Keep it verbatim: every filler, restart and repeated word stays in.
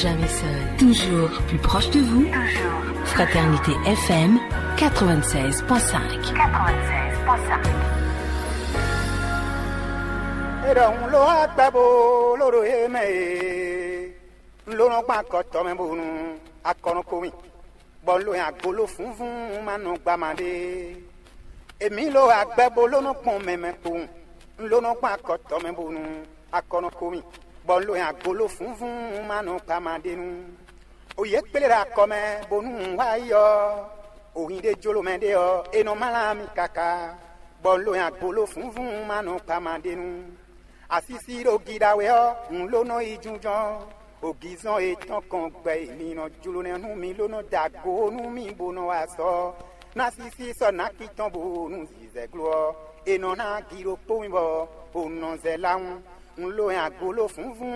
Jamais seul, toujours plus proche de vous. Fraternité F M quatre-vingt-seize point cinq. E ɖɔ un lo agbɛ bo lo ɖo ye mɛ e, un lo nɔ gba akɔtɔ mɛ bonu akɔnɔ ko mi, bɔ un lo nyi agbolo funvun ma nɔ gba ma ɖe. Emi lo agbɛ bo lo nɔ gbɔn mɛ mɛ kpowun, un lo nɔ gba akɔtɔ mɛ bonu akɔnɔ ko mi, bɔ un lo nyi agbolo funvun ma nɔ gba ma ɖe nu. O yě kplé ɖo akɔ mɛ bónú un wá yi ɔ́, o hin ɖé jló mɛ ɖé ɔ́, é nɔ mlá mì káká, bɔ un lo nyi agbolo funvun ma nɔ kpa ma ɖe nu. Asísí ɖo giɖa wɛ ɔ́, un ló nɔ yi jínjɔ́n. Ogizɔn e tɔn kɔn gbɛ e mi nɔ jló nɛ́ nú mi ló nɔ da go nú mì bó nɔ wá sɔ ná sísí sɔ́ nǎki tɔn bó nú zizɛglo ɔ́, è nɔ ná agi ɖokpó mì bɔ o nɔ zɛ lá wún. Un lo nyi agbolo funvun